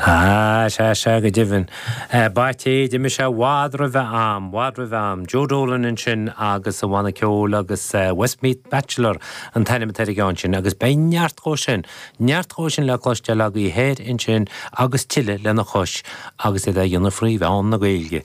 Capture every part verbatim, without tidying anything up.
Ah, sea, sea, go deimhin. B'ait é, d'imigh sé i bhfad roimh a am, bhfad roimh a am. Joe Dolan ansin agus a bhanna ceoil agus Westmeath Bachelor an t-ainm atá ar an gceann sin, agus beidh neart dhó sin, neart dhó sin le cloisteáil agaibh thoir ansin agus tuilleadh lena chois agus iad á dhéanamh faoi mheán na Gaeilge.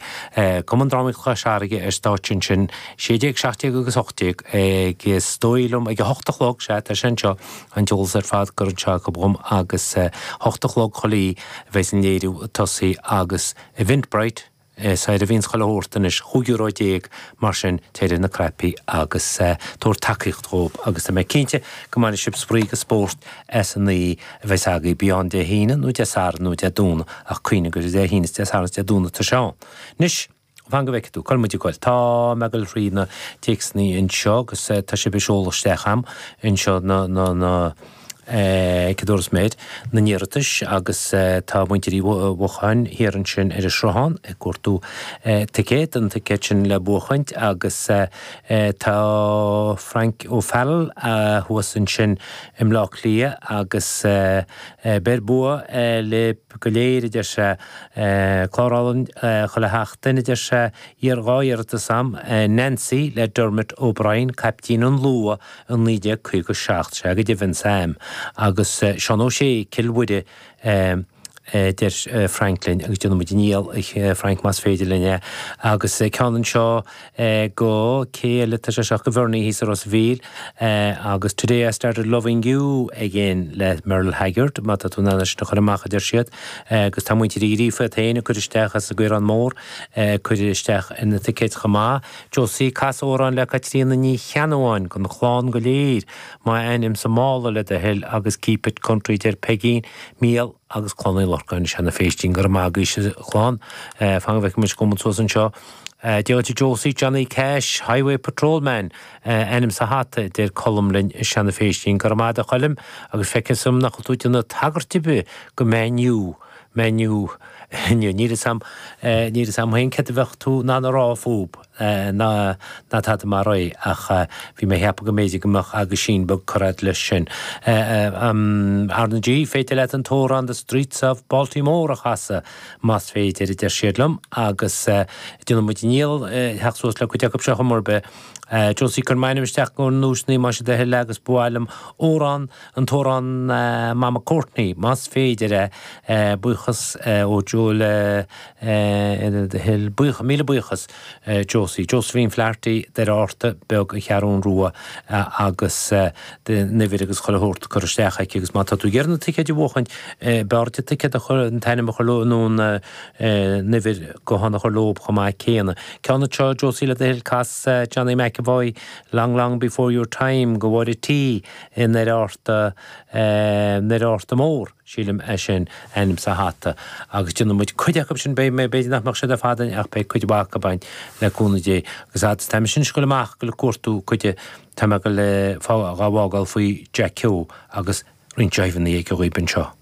Cumann Drámaíochta Chois Fharraige ar stáitse ansin, sé déag, seacht déag agus ocht déag, ag is dóigh liom ag a hocht a chlog, sea, tá sé anseo, an t-eolas ar fad curtha anseo acu dhom agus hocht a chlog chuile oíche a bheas an léiriú ag tosaí agus Eventbrite is air a bhíonns chuile shórt anois, chúig euro déag, mar sin téir ar na cnaipí agus tabhair tacaíocht dhóibh agus tá mé cinnte go mbainfidh sibh spraoi agus spórt as an oíche a bheas agaibh, bí ann Dé hAoine nó Dé Sathairn nó Dé Domhnaigh ach cuimhnigh gur Dé hAoine is Dé Sathairn is Dé Domhnaigh atá sé ann. Anois. Fan go bhfeicfidh tú, cá bhfuil muid ag goil. Tá mé ag goil thrí na téacsanna anseo agus tá sibh ag seoladh isteach a'm anseo na, na, na, eh, cad a dúras mé, na n-iarratais agus tá muintir Uí Mhocháin thiar ansin ar an Sruthán ag cuartú ticéad, an ticéad sin le buachaint agus tá Frank O'Farrell thuas ansin i mBleá Cliath agus beir bua libh go léir, a deir sé. Clár álainn chuile sheachtain, a deir sé. Iar dhá iarratas a'm, Nancy le Dermot O'Brien, caiptín an Luath i naoi déag caoga seacht, sea go deimhin, Sam, agus Seán Ó Sé, Cill Mhuire, a deir Frank linn, agus déanfaidh muid an iall, a Frank, más féidir linn é. Agus ceann anseo go, cé eile atá sé seo, go Bhernie thíos i Ros a' Mhíl, agus Today I Started Loving You Again le Merle Haggard, má tá tú in ann é sin a chur amach, a deir siad. Agus tá muintir Uí Ghríofa iad féin ag cur isteach as an gCaorán Mór, ag cur isteach ar na ticéid chomh maith. Josie, cas amhrán le Caitríona Ní Cheannabháin don chlann go léir, M'ainm sa mála le do thoil agus Keep It Country, deir Peigín, Mícheál agus Clann Uí Lorcáin i Seanadh Phéistín. Go raibh maith agaibhse a chlann. Fan go bhfeicfidh muid cá bhfuil muid suas anseo. Dia dhuit a Josie, Johnny Cash, Highway Patrolman, ainm sa hata, a deir Colm linn i Seanadh Phéistín. Go raibh maith agat a Choilm agus feicfidh dom nach bhfuil tú ag déanamh tagairt ar bith go Man U, Man U inniu. Níl fhios a'm, níl fhios a'm féin céard a bheadh tú in ann a rá fúb, ná ná tada mar é, ach bhí mé a cheapadh go mb'fhéidir go mbeadh aguisín beag curtha a'd leis sin. R na G, féidir leat an t-amhrán The Streets of Baltimore a chasadh, más féidir, a deir siad liom, agus déanfaidh muid an iall theacht suas le cuid acu seo chuma ar bith. Josie, cuir m'ainm isteach do na duaiseanna más é do thoil agus ba mhaith liom amhrán, an t-amhrán Mama Courtney, más féidir é. Buíochas ó Joe le do thoil. Buíochas, míle buíochas Josie. Josephine Flaherty, Doire Fhátharta Beag an Cheathrún Rua agus an uimhir agus chuile shórt curtha isteach aici agus má tá tú ag iarraidh na ticéid a bhuachaint, b'fhearr duit ticéad a chur, an t-ainm a chur leo nó an uimhir gutháin a chur leo chomh maith céanna. Ceann anseo, Josie le do thoil, cas Johnny McEvoy, Long Long Before Your Time go Mháire T i nDoire Fhátharta, nDoire Fhátharta Mór, sílim é sin, ainm sa hata. Agus déanfaidh muid cuid acu sin, beidh mé, b'fhéidir nach mbeadh siad ar fad againn ach beidh cuid mhaith acu againn le cúnamh Dé. Agus fhad is tá mise anois ag goil amach, ag goil ag cuartú cuid, tá mé ag goil dhá bhfágáil faoi Jack Keogh agus roinnt jiveanna aige dhaoib anseo.